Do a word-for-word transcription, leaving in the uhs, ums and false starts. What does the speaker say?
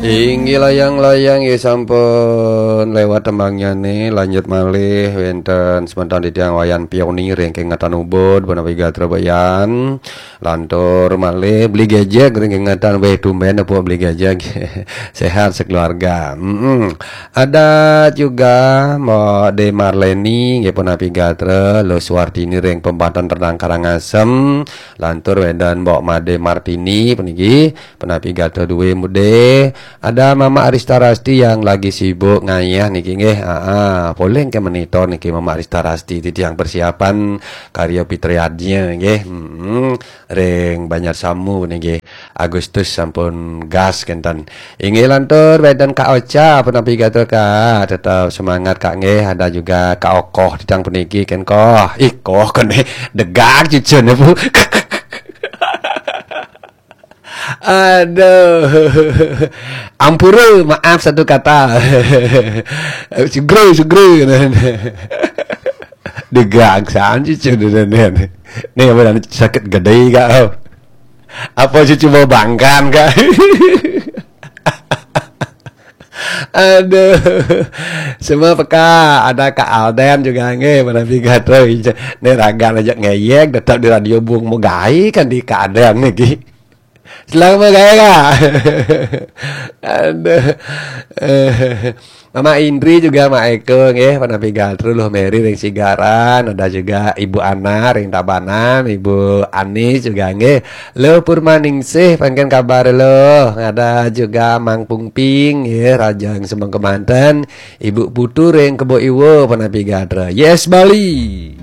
Inggih layang-layang ya sampun lewat tembangnya nih, lanjut malih wénten semeton titiang Wayan Pionir ring Kengetan Ubud, punapi gatra Bayan. Lantur malih Beli Gejek ring Kengetan, wéh tumben apa Beli Gejek. Sehat sekeluarga. Mm-mm. Ada juga Mbok De Marleni, nggih punapi gatra, Lo Suwartini ring Pempatan Renang Karangasem, lantur wénten Mbok Made Martini puniki, punapi gatra duwé mudé. Ada Mama Arista Rasti yang lagi sibuk ngayah niki nggih. Aa, polih ke monitor niki Mama Arista Rasti, titiang persiapan karya pitriadnya nggih. Mm-mm. Ring Banjar Samu niki. Agustus sampun gas kénten. Inggih lantur wénten Kak Ocha, punapi gatra Kak, tetap semangat Kak nggih. Ada juga Kak Okoh titiang puniki kén Koh. Ih, Koh kéné degak cucun Bu. Aduh. Ampura, maaf satu kata. Sugro, sugro. Degak san cucun. Nih, apa, sakit gedé Kak? Apa cucu mau bangkan Kak? Aduh. Semua peka, ada Kak Alden juga nggih, punapi gatra. Nih raga aja ngeyek, tetap di radio bung mau gaé kan di Kak Alden niki. Selamat gaya Kak. Aduh. Eh, Mama Indri juga Mak Eko nggih, punapi gatra Luh Meri ring Sigaran, ada juga Ibu Ana ring Tabanan, Ibu Anis juga nggih. Lo Purmaningsih, pangkén kabar lo. Ada juga Mang Pungping nggih, Raja ring Semeng Kemanten, Ibu Putu ring Kebo Iwa, punapi gatra. Yes Bali.